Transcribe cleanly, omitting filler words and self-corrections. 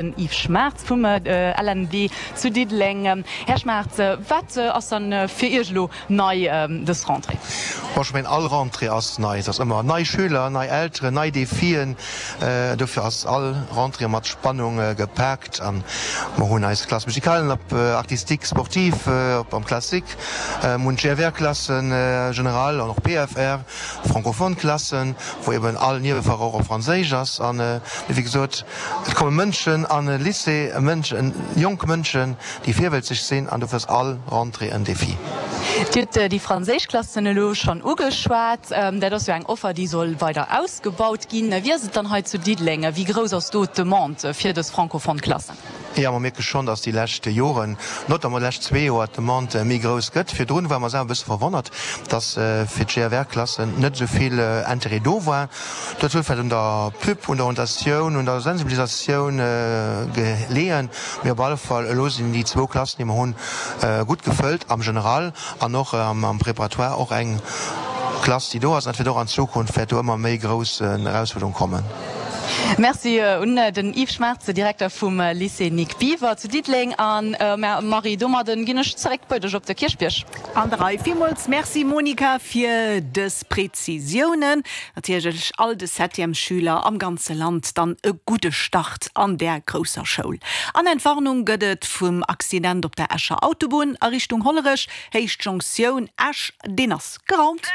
Den Yves Schmaartz vum LNB zu Diddeleng. Här Schmaartz, wat ass dann fir Iech elo nei dës Rentrée? Bon, ech mengen all Rentrée ass nei. Et ass ëmmer nei Schüler, nei Elteren, nei Defien. Dofir ass all Rentrée mat Spannung gepaakt. A mer hunn eis Classe musicalen op artistique, sportive, op am Classique, mer hunn d'GFR-Klassen general an och PFR, francophone Klassen, wou eben all Niewefach och op Franséisch ass. An wéi gesot, Et komme Mënschen an e Lycée, Mënschen, jonk Mënschen, déi virwëlzeg sinn, an dofir ass all Rentrée en Défi. Dir hutt déi franséisch Klassen elo schonn ugeschwat. Dat ass jo eng Offer, déi soll weider ausgebaut ginn. Wéi ass et dann hei zu Diddeleng? Wéi grouss ass do d'Demande fir dës francophone Klassen? Jo, mer mierke schonn, dass déi lescht Joren, notamment déi lescht zwee Joer, d'Demande méi grouss gëtt. Virdrun ware mer selwer e bësse verwonnert, dass fir d'GFR-Klassen net esou vill Interêt do war. Dat huet vläicht un der Pub, un der Orientatioun, un der Sensibilisatioun geleeën. Mee op alle Fall, elo sinn déi zwou Klassen, déi mer hunn, gutt gefëllt am General an och am Préparatoire och eng Klass, déi do ass. An dat wäert och an Zukunft wäert do ëmmer méi grouss Erausfuerderung kommen. Merci un den Yves Schmaertze, Direkter vum Lycée Nic Biever zu Diddeleng. An Marie, domadden ginn ech zeréck bei dech op de Kierchbierg. An der Rei. Villmools Merci Monica fir dës Prezisiounen. Natierlech all de Septièmesschüler am ganze Land dann e gudde Start an där grousser Schoul. An Entwarnung gëtt et vum Accident op der Escher Autobunn a Richtung Hollerech, Héicht Jonktioun Esch, deen ass geraumt.